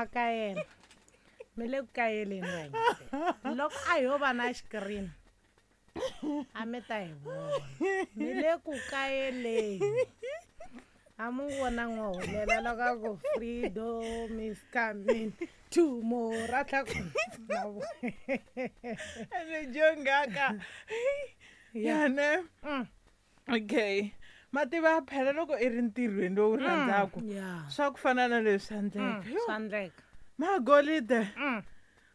Ma kayela. Mi le ku kayeleni vayingiseri. Loko a ho va na xikirini a mi ta hi vona. Mi le ku kayeleni. A mu vona n'waholela loko a ku freedom is coming tomorrow a tlha ku na vo- ene jongaka yane. Okay, mativa phela loko i ri ntirhweni lowu rhandzaku swa ku fana na leswi swa ndleka. Yo, Swa ndleka. Magolide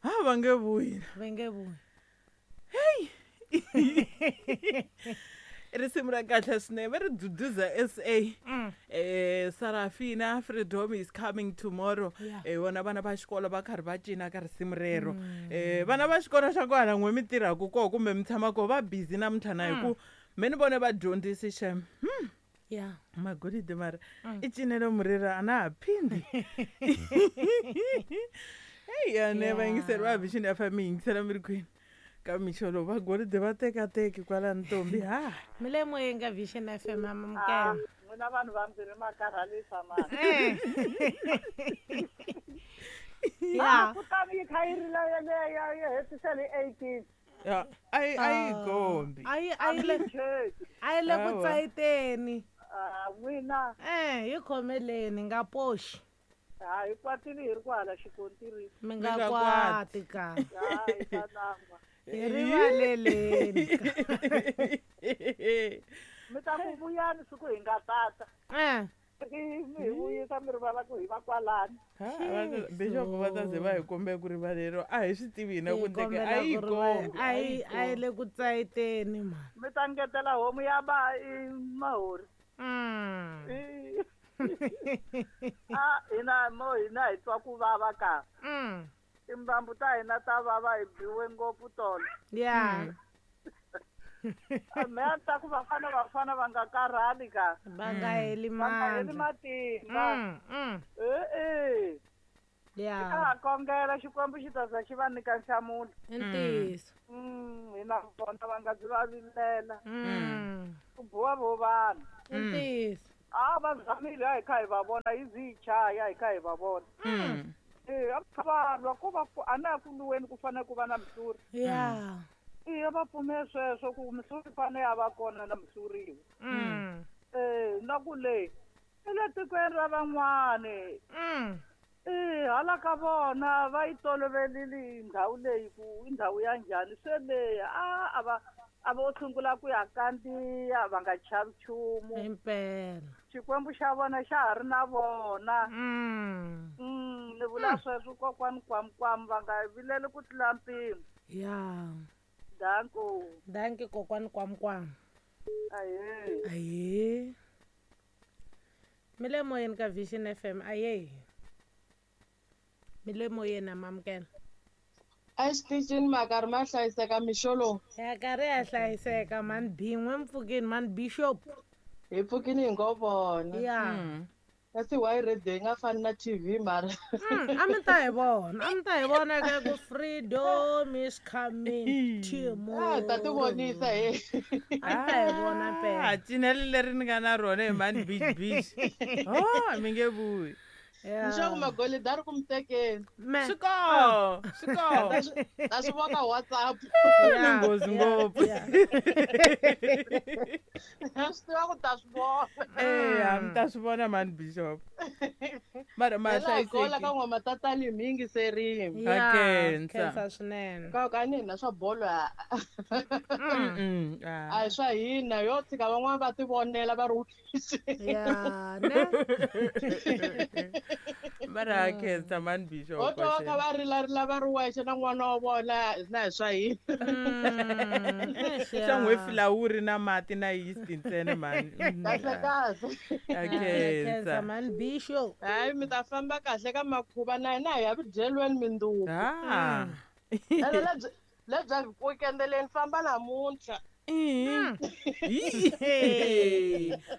ha va nge vuyi. Va nge vuyi. Risimu ra kahle swinene va ri Duduza SA. Sarafina, freedom is coming tomorrow. Vona vana va xikolo va karhi va cina ka risimu rero. Vana va xikolo xa kwala n'we mi tirhaka koho kumbe mi tshama koho va busy namuntlha na hi ku me ni vone vadyondzisi xem. Magolide mara i cinelo murira a na ha phindi. Heyi yane vayingiseri va Vision FM mi yingisela mi ri kwini ka mixo lowu vagolide va tekateki kwala ntombi ha. Mi le moyeni ka Vision FM amamukela. N'wina vanhu vambirhi ma karhalisa mani. Kutani yi kha yi rila yeleyo yi hetisele 18. Ya, a yi a yi kombi. A yi a yi le a yi le ku tsayiteni. N'wina. Hi khomeleni nga poxi. Ha hi kwatile hi ri kwala xikontiri. Mi nga kwati ka. Ha hi ta lan'wa. Hi rivaleleni. Mi ta ku vuyani siku hi nga tata. Mi hi vuyisa mi rivala ku hi va kwalani. Bishop va ta ze va hi kombe ku rivaleriwa a hi swi tivi hina ku ndleke a yi kombi. A yi le ku tsayiteni mani. Mi ta ngetela homu ya ba i mahori. Hina mo hina hi twa ku vava ka. Timbambu ta hina ta vava hi biwe ngopfu tolo. Me a ta ku vafana vafana va nga karhali ka. Va nga heli Va nga heli matimba. Ha kongela Xikwembu xi ta za xi va nyika nhlamulo. I ntiyiso. Hina vona va nga byi va vilela. Ku biwa vo vanhu. I ntiyiso. A va zamile a hi kha hi va vona yi zi yi chaya hi kha hi va vona. A va lwa ko va ku a na ku lweni ku fanele ku va na mihluri. Va pfumela sweswo ku mihluri fanele ya va kona na mihluriwa. Na ku le i le tikweni ra van'wani. Hala ka vona va yi tolovelile ndhawu leyi ku i ndhawu ya njhani se leyi a va a vo sungula ku ya kandziya va nga chavi nchumu. Impela. Xikwembu xa vona xa ha ri na vona. Ni vula sweswo kokwani kwamukwamu va nga vileli ku tlula mpimo. Danko. Danki kokwani kwamukwamu. Aye. Aye. Mi le moyeni ka Vision FM aye. Mi le moyeni amamukela. A xitichini makarhi ma hlayiseka mixo lowu. Ya karhi ya hlayiseka mani bin'we mpfukini mani Bishop. Hi pfukini hi ngo vona. Kasi why radio yi nga fani na TV mara? A mi ta hi vona, a mi ta hi vona ka ku freedom is coming tomorrow. Ta ti vonisa he. A mi ta hi vona phela. Cinelo leri ni nga na rona hi mani beach beach. Oh, mi nge vuyi. Leswaku magolide a ri ku mi tekeni. Swi koho, swi koho. Ta swi vona WhatsApp. Ni nghozi ngopfu. Swi tiva ku ta swi vona. A mi ta swi vona mani Bishop. Mara ma Hela hi gola ka n'wa matatani mi yingiserile. Ha khensa. Khensa swinene. Ka ka ni hina swa bolo a. A hi swa hina yo tshika van'wana va ti vonela va ri Ne. Mara khensa mani Bishop. Ho twa va kha va rilarila va ri wexe na n'wana wa vona na hi swa hina. Xa n'we filawuri na mati na yeast ntsena mani. Kahle kahle. Khensa mani Bishop. Hayi mi ta famba kahle ka makhuva na hina hi ya vudyelweni mindzuku. Ene lebyi weekend famba namuntlha.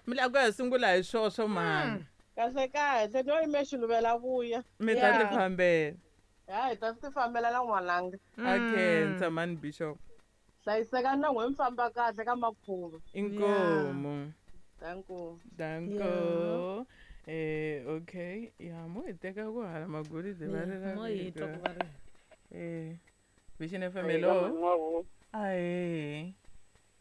Mi lava ku ya sungula hi swoswo mani. Kahle kahle no yime xiluvela vuya. Mi ta ti fambela. Ya hi ta ti fambela na n'wananga. A khensa mani Bishop. Hlayiseka na n'we mi famba kahle ka makhuva. Inkomu. Danko. Danko. Okay, ya mo hi teka ku hala magolide va ri Mo hi twa ku va ri. Vision FM, hello. Ahe.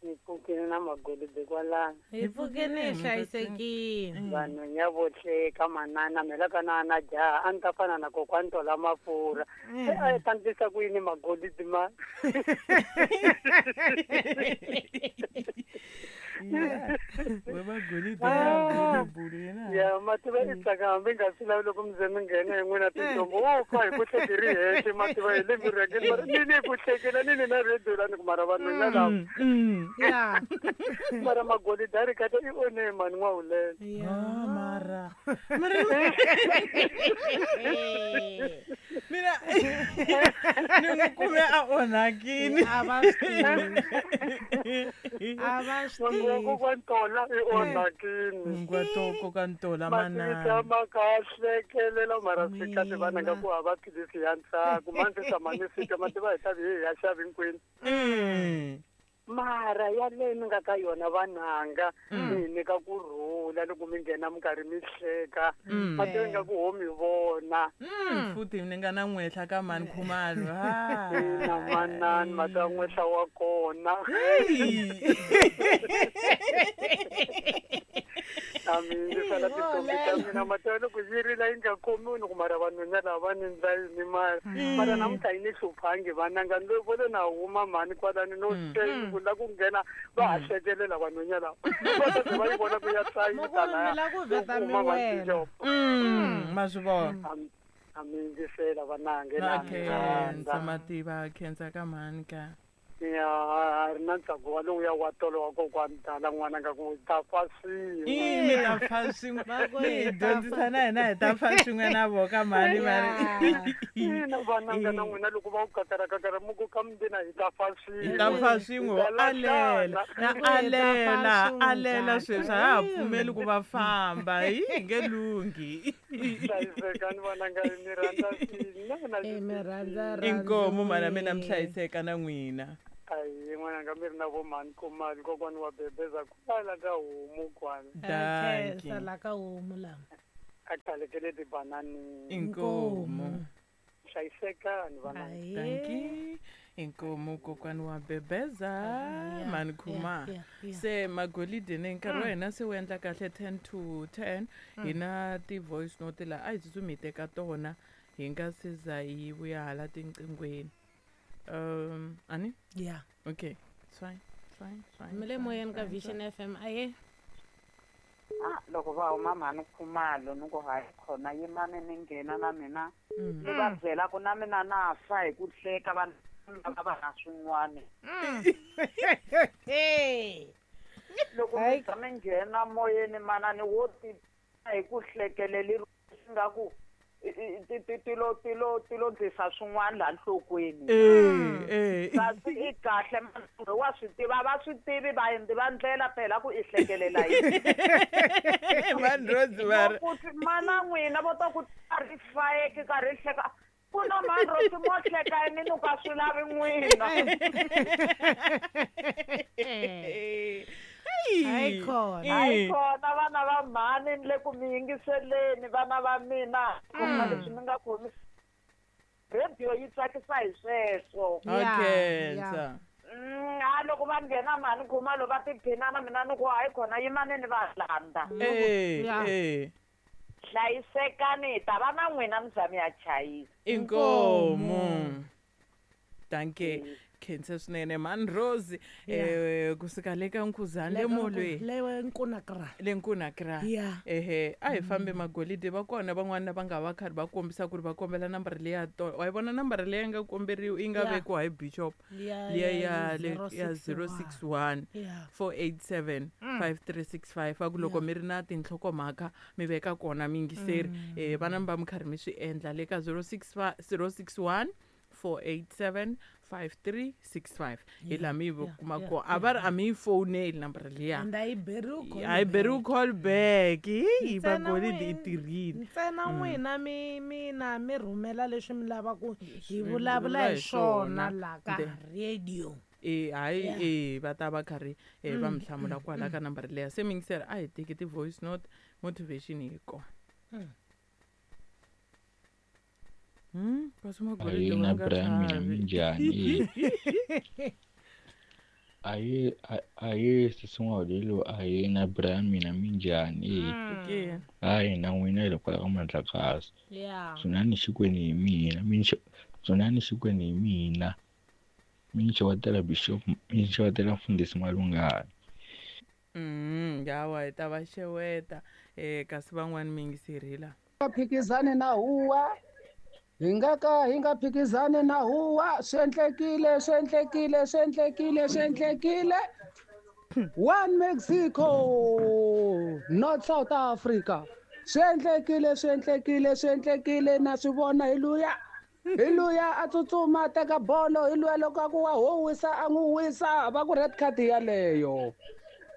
Ni pfukile na magolide kwalano. Hi pfukile hi hlayisekile. Vanhu nya vo hleka manana me la ka na na jaha a ni ta fana na kokwani Tola Mafurha. Se a yi ta ndlisa ku yini magolide ma? We magolide ya bulu yena. Ya mativa i tsaka hambi nga swi lavi loko mi ze mi nghena hi n'wina tintombo wo fa hi ku hleke ri hexe mativa hi le mirhangeni mara ni le ku hlekela ni ni na radio la ni ku mara vanhu nya lava. Ya. Mara magolide a ri kahle i one mani n'wahulela. Ya. Mara. Mara. Mina ni n'wi kume a onhakini. A va swi tivi. A va swi N'wangu wa tivi. kokwani Tola i onhakini. N'wangu wa kokwani Tola manana. Mativisa ma ka hlekelela mara swi kahle vana nga ku hava philisi ya ntsako. Ma ndzi tshama ni fika mativa hi ta vi hi ya xavi hinkwenu. Mara yaleyo mi nga ka yona vananga mi hi nyika kurhula loko mi nghena mi karhi mi hleka. Mativa ingaku ho mi vona. Futhi ni nga na n'wehla ka mani Khumalo. Ina manani mata n'wehla wa kona. A mi yingisela tintombi ta mina mativa loko yi rila yi nga khomiwi ni ku mara vanhwenya lava va ni ndla yini mara. Mara namuntlha yi ni hluphangi vananga ni lo vone na huma mhani kwalani no se ku la ku nghena va ha hlekelela vanhwenya lava. Va ta va yi vona ku ya tsayita mi la ku vheta mi wela. Ma swi vona. A mi yingisela vanange Na khensa mativa khensa ka mhani ka. Ya a ri na ntsako wa lowuya wa tolo wa kokwani Dala n'wana nga ku ta fa swin'we. Mi ta fa swin'we. Mi hi dyondzisa na hina hi ta fa swin'we na vo ka mhani mari. Ina vananga na n'wina loko va ku kakara kakara mi ku ka mina hi ta fa swin'we. Hi ta fa swin'we alela na alela alela sweswi a ha pfumeli ku va famba hi nge lunghi. Hlayisekani vananga mi rhandza swinene. Mi rhandza Inkomu mana mina mi hlayiseka na n'wina. Ayi n'wananga mi ri na vo mhani Khumalo kokwani wa bebeza kwala ka homu kwala. Dankie. Khensa la ka homu lama. A khalekele tibananini. Inkomu. Hlayisekani vananga. Dankie. Inkomu kokwani wa bebeza mhani Khumalo. Se magolide ne nkarhi wa hina se wu endla kahle 10 to 10 hi na ti-voice note la a hi tsutsumi hi teka tona hi nga se za hi vuya hala tinqinghweni. Ani? Yeah. Okay. It's fine. It's fine. It's fine. Mi le moyeni ka Vision FM aye. Loko va huma mhani Khumalo ni ku hayi khona yimani ni nghena na mina. Ni va byela ku na mina na fa hi ku hleka vanhu lava va na swin'wana. Loko mi za mi nghena moyeni manani wo ti hi ku hlekeleli swi nga ku tilo tilo tilo ndlisa swin'wana laha nhlokweni. Kasi i kahle manana wa swi tiva va swi tivi vaendli va ndlela phela ku i hlekelela yini. Mani Rose va ri mana n'wina vo ta ku ri fayeke karhi hleka ku na mani Rose mo hleka yini ni ka swi lavi n'wina. Hayi khona. Hayi khona vana va mhani ni le ku mi yingiseleni vana va mina. Khona leswi mi nga khomisi. Radio yi tsakisa hi sweswo. Okay. A loko va nghena mhani Khumalo va tiphina na mina ni ku hayi khona yimani ni va landza. Hlayisekani hi ta va na n'wina mi za mi ya chayisa. Inkomu. Dankie. Khensa swinene mani Rose kusuka le ka Nkhuzani le molweni le Nkunakra le Nkunakra ehe a hi fambe magolide va kona van'wana va nga va karhi va kombisa ku ri va kombela nambara leya wa yi vona nambara leyi nga komberiwa yi nga vekiwa hi bishop liya ya 061 487 5365 va ku loko mi ri na tinhlokomhaka mi veka kona miyingiseri vana mi va mi karhi mi swi endla le ka 061 487 5365 hi laha mi kuma ko a va ri a mi yi foneli nambara liya and a yi beriwi a yi beriwi call back hi magolide i tirhile ntsena n'wina mi mina mi rhumela leswi mi lavaku hi vulavula hi swona la ka radio. E hayi e va ta va karhi e va mi hlamula kwala ka nambara leya. Se mingiseri a hi teki ti-voice note, motivation yi kona. Kasi Ahee magolide va na nga Brian mina chavi. minjhani? Ahee ahee sesi N'wahulelo ahee na Brian mina minjhani? Okay. Hayi na n'wina hi le kwala ka Mandlakazi. Yeah. Dzunani Xikwenu hi mina, mi ni dzunani Xikwenu hi mina. Mi ni xewetela Bishop, mi ni xewetela Mfundhisi Malungana. Hawa hi ta va xeweta kasi van'wani mi yingiseri hi la. Nga phikizani na huwa, hi nga ka hi nga phikizani na huwa. Swi endlekile, swi endlekile, swi endlekile, swi endlekile. One Mexico, not South Africa. Swi endlekile, swi endlekile, swi endlekile, na swi vona hi luya. Hi luya a tsutsuma a teka bolo, hi luya loko a ku wa ho wisa a n'wi wisa, va ku red card yaleyo.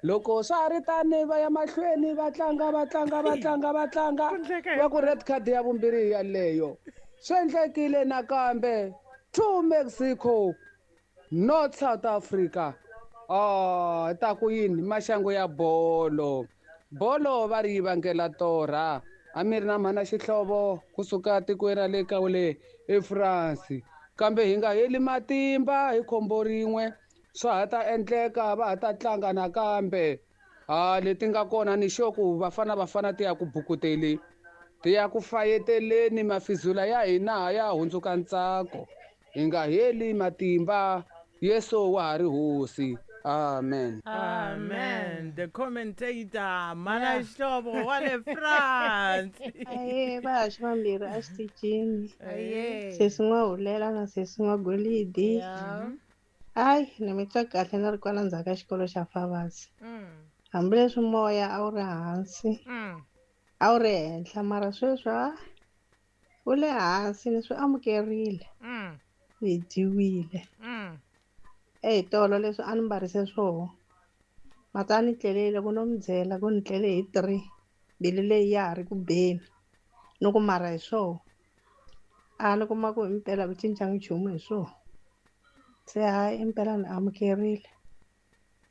Loko swa ha ri tani va ya mahlweni va tlanga va tlanga va tlanga va tlanga, va ku red card ya vumbirhi yaleyo. Swi endlekile nakambe, 2 Mexico, not South Africa. Ah, ta ku yini maxangu ya bolo. Bolo va ri yi vangela torha. A mi ri na mhana xihlovo kusuka tikweni ra le ka le eFrance. Kambe hi nga heli matimba hi khombo rin'we, swa ha ta endleka va ha ta tlanga nakambe. Ah, leti nga kona ni sure ku Bafana Bafana ti ya ku bukuteli, ti ya ku fayeteleni, mafizula ya hina ya hundzuka ntsako. Hi nga heli matimba, Yesu wa ha ri hosi. Amen. Amen. The commentator, Mana Xihlovo wa le France. Aye, vahaxi vambirhi a xitichini. Aye. Sesi N'wahulela na sesi N'wagolidi. Hayi, ni mi twa kahle ni ri kwala ndzhaku ka xikolo xa Favasi. Hambileswi moya a wu ri hansi, a wu ri henhla, mara sweswi ha wu le hansi ni swi amukerile. Ni dyiwile. Eyi tolo leswi a ni mbarise swoho, mata a ni tlelele ku no mi byela ku ni tlele hi 3, mbilu leyi ya ha ri ku beni. Ni ku mara hi swoho, a ni kuma ku himpela ku cinca nchumu hi swoho. Se hayi impela ni amukerile.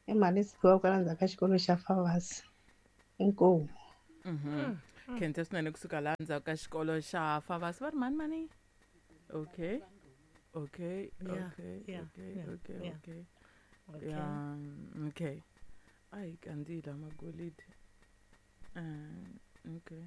I mhani Siphiwa kwala ndzhaku ka xikolo xa Favasi. Inkomu. Khensa swinene kusuka laha ndzhaku ka xikolo xa Favasi. Va ri mani mani? Okay. Okay, Yeah, okay, yeah, okay, yeah, okay, yeah. okay. Okay. Yeah, okay. Ayi kandziyile magolide. Okay.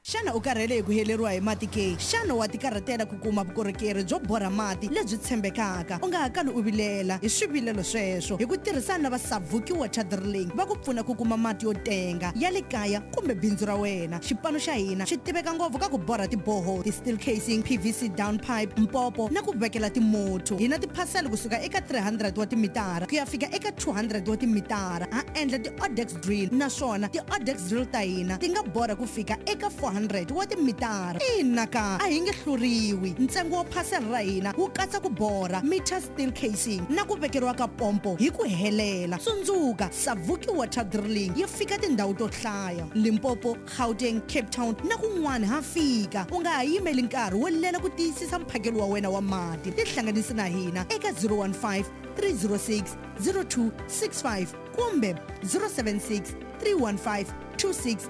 Xana u karhele hi ku heleriwa hi mati ke? Xana wa tikarhatela ku kuma vukorhokeri byo borha mati lebyi tshembekaka? U nga ha kali u vilela hi swivilelo sweswo hi ku tirhisana na va Savuki Water Drilling va ku pfuna ku kuma mati yo tenga ya le kaya kumbe bindzu ra wena. Xipano xa hina xi tiveka ngopfu ka ku borha tiboho, ti-steel casing, PVC down pipe, mpopo na ku vekela timotho. Hi na tiphasela kusuka eka 300 wa timitara ku ya fika eka 200 wa timitara. Ha endla ti-odex drill naswona ti-odex drill ta hina ti nga borha ku fika eka 400 wa timitara. Ina ka a hi nge hluriwi. Ntsengo wa phasela ra hina wu katsa ku borha, meter steel casing na ku vekeriwa ka pompo hi ku helela. Tsundzuka, Savuki Water Drilling yi fika tindhawu to hlaya: Limpopo, Gauteng, Cape Town na kun'wana ha fika. U nga ha yimeli nkarhi wo lela ku tiyisisa mphakelo wa wena wa mati. Tihlanganisi na hina eka 015 306 0265 kumbe 076 315 2680.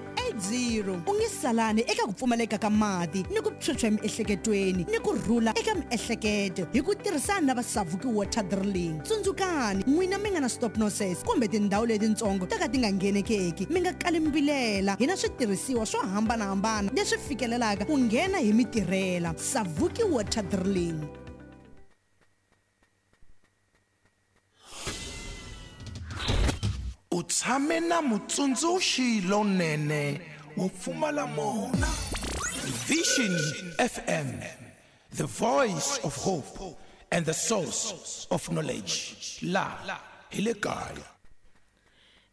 U nge salani eka ku pfumaleka ka mati ni ku phyuphya emiehleketweni ni ku rhula eka miehleketo hi ku tirhisana na va Savuki Water Drilling. Tsundzukani, n'wina mi nga na stop nonsense kumbe tindhawu letitsongo to ka ti nga nghenekeki, mi nga kali mi vilela. Hi na switirhisiwa swo hambanahambana leswi fikelelaka ku nghena hi mitirhela. Savuki Water Drilling. U tshame na mutsundzuxi lonene wo pfumala mona. Vision FM, the voice of hope and the source of knowledge. La hi le kaya.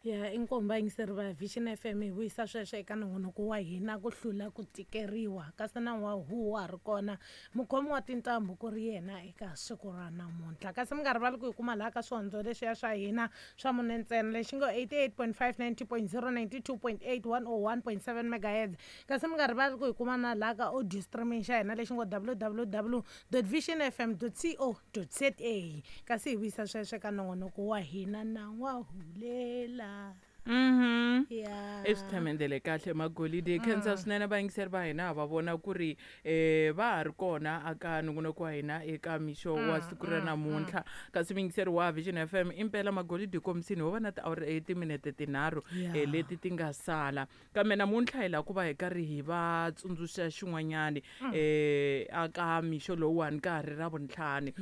Ya, inkomu vayingiseri va Vision FM, hi vuyisa sweswo eka nongonoko wa hina ku hlula ku tikeriwa, kasi na wa huwa ha ri kona mukhomi wa tintambu ku ri yena eka siku ra namuntlha. Kasi mi nga rivali ku hi kuma laha ka swihondzo leswiya swa hina swa mune ntsena, lexi ngo 88.5, 90.0, 92.8, 101.7 megahertz. Kasi mi nga rivali ku hi kuma na laha ka audio streaming xa hina lexi ngo www visionfm co za. Kasi hi vuyisa sweswo eka nongonoko wa hina na n'wahulela. Ya. I swi thamendele kahle magolide. Khensa swinene vayingiseri va hina, va vona ku ri va ha ri kona aka nongonoko wa hina eka mixo wa siku ra namuntlha. Kasi muyingiseri wa Vision FM, impela magolide komisini ho va na tiawara timinete 3 leti ti nga sala, kambe namuntlha hi lava ku va hi karhi hi va tsundzuxa xin'wanyani aka mixo lowuwani ka ha ri ra vuntlhanu.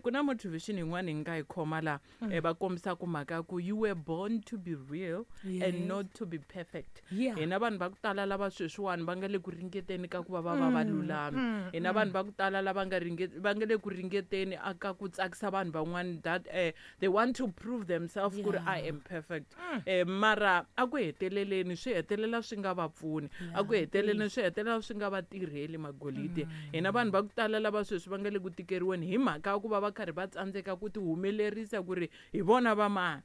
Ku na motivation yin'wana hi nga yi khoma la, va kombisa ku mhaka ku you were born to be real and not to be perfect. Hina vanhu va ku tala lava sweswiwani va nga le ku ringeteni ka ku va va va va lulami, hina vanhu va ku tala lava nga va nga le ku ringeteni aka ku tsakisa vanhu van'wani, that they want to prove themselves ku ri I am perfect, mara a ku heteleleni swi hetelela swi nga va pfuni, a ku heteleleni swi hetelela swi nga va tirheli magolide. Hina vanhu va ku tala lava sweswi va nga le ku tikeriweni hi mhaka ya ku va va karhi va tsandzeka ku ti humelerisa ku ri hi vona va mani.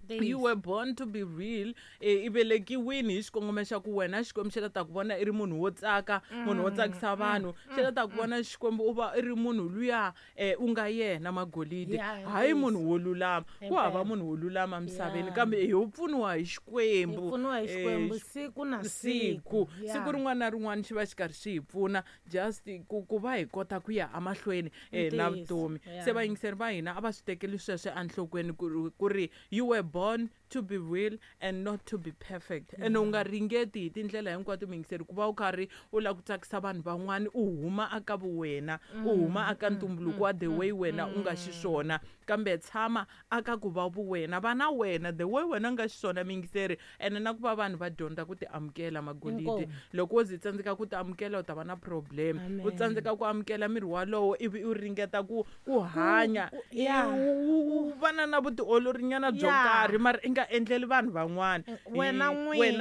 You were born to be real. I velekiwini hi xikongomelo xa ku wena Xikwembu xi la ta ku vona i ri munhu wo tsaka, munhu wo tsakisa vanhu, xi la ta ku vona Xikwembu u va i ri munhu luya u nga yena magolide, hayi munhu wo lulama. Ku hava munhu wo lulama misaveni, kambe hi pfuniwa hi Xikwembu. Hi pfuniwa hi Xikwembu siku na siku. Siku rin'wana na rin'wana xi va xi karhi xi hi pfuna just ku va hi kota ku ya emahlweni na vutomi. Se vayingiseri va hina a va swi tekeli sweswo enhlokweni ku ri you were born to be real and not to be perfect. And u nga ringeti hi tindlela hinkwato muyingiseri ku va u karhi u lava ku tsakisa vanhu van'wani, u huma aka vuwena, u huma aka ntumbuluko wa the way wena u nga xiswona, kambe tshama aka ku va vuwena, va na wena the way wena u nga xiswona muyingiseri. Ene na ku va vanhu va dyondza ku ti amukela magolide. Loko wo ze tsandzeka ku ti amukela u ta va na problem. U tsandzeka ku amukela miri walowo ivi u ringeta ku hanya u va na vutiolorinyana byo karhi, mara i nga endleli vanhu van'wana, wena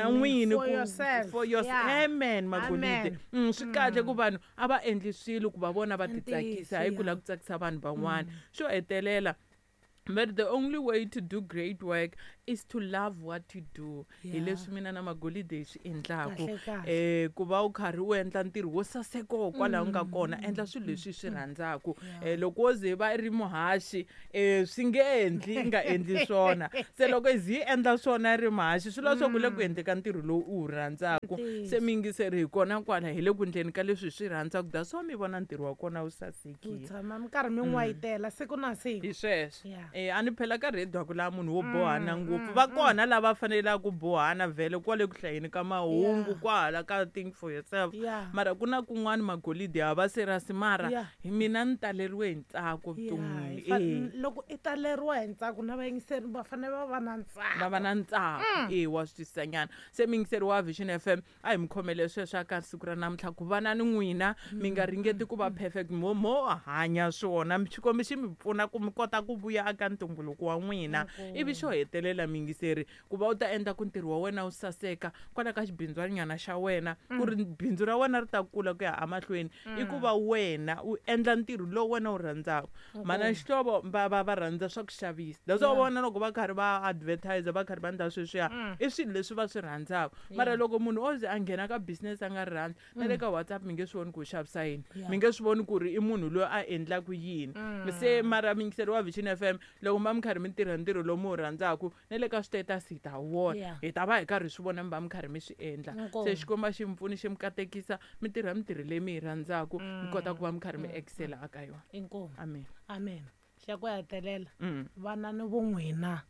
n'wini for yourself. Amen magolide. Swi kahle ku vanhu a va endli swilo ku va vona va titsakisa, hayi ku lava ku tsakisa vanhu van'wana. Xo hetelela, but the only way to do great work is to love what you do. Hi leswi mina na magolide hi swi endlaku, ku va u karhi u endla ntirho wo saseka kwalaho nga kona, endla swilo leswi swi rhandzaku. Loko wo ze va ri muhaxi, swi nge endli nga endli swona. Se loko i zi endla swona ri muhaxi, swi lava swa ku le ku endleka ntirho lowu u wu rhandzaku. Se miyingiseri hi kona kwala hi le ku endleni ka leswi hi swi rhandzaku, that's why mi vona ntirho wa kona wu sasekile. U tshama mi karhi mi n'wayitela siku na siku. Hi sweswo. A ni phela ka radio ku laha munhu wo bohana ngopfu, va kona lava fanelaka ku bohana vhele kwale ku hlayeni ka mahungu, kwahala ka think for yourself, mara ku na kun'wana magolide ya va serious, mara hi mina ni taleriwe hi ntsako vuton'wini. Loko i taleriwa hi ntsako na vayingiseri va fanele va va na ntsako, va va na ntsako. Wa swi twisisanyana. Se muyingiseri wa Vision FM, a hi mi khomele sweswo aka siku ra namuntlha ku va na ni n'wina, mi nga ringeti ku va perfect, mo hanya swona, Xikwembu xi mi pfuna ku mi kota ku vuya aka ntumbuluko wa n'wina. Ivi xo hetelela muyingiseri, ku va u ta endla ku ntirho wa wena wu saseka kwala ka xibindzwanyana xa wena, ku ri bindzu ra wena ri ta kula ku ya emahlweni, i ku va wena u endla ntirho lowu wena wu rhandzaka. Mana xihlovo va va rhandza swa ku xavisa, that's why vona loko va karhi va advertise, va karhi va endla sweswiya, i swilo leswi va swi rhandzaka. Mara loko munhu o ze a nghena ka business a nga ri rhandzi, na le ka WhatsApp mi nge swi voni ku u xavisa yini, mi nge swi voni ku ri i munhu loyi a endlaku yini. Se mara muyingiseri wa Vision FM, loko ma mi karhi mi tirha ntirho lowu mi wu rhandzaku, na le ka status hi ta vona, hi ta va hi karhi swi vona mi va mi karhi mi swi endla. Se Xikwembu xi mi pfuni xi mi katekisa, mi tirha mintirho leyi mi yi rhandzaku, mi kota ku va mi karhi mi excela aka yona. Inkomu. Amen. Amen. Xa ku hetelela, vana ni vun'wina.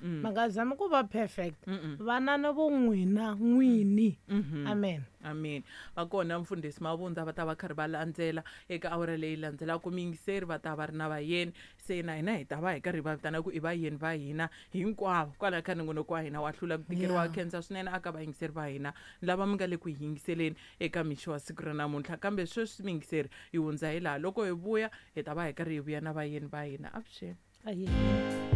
Ma nga zami ku va perfect, vana ni vun'wina n'wini. Amen. Amen. Va kona mfundhisi Mavundza va ta va karhi va landzela eka awara leyi landzelaka. Muyingiseri va ta va ri na vayeni, se na hina hi ta va hi karhi va vitana ku i vayeni va hina hinkwavo kwalaho ka nongonoko wa hina wa hlula ku tikeriwa. Khensa swinene aka vayingiseri va hina lava mi nga le ku yingiseleni eka mixo wa siku ra namuntlha. Kambe sweswi muyingiseri hi hundza hi laha, loko hi vuya hi ta va hi karhi hi vuya na vayeni va hina. Avuxeni.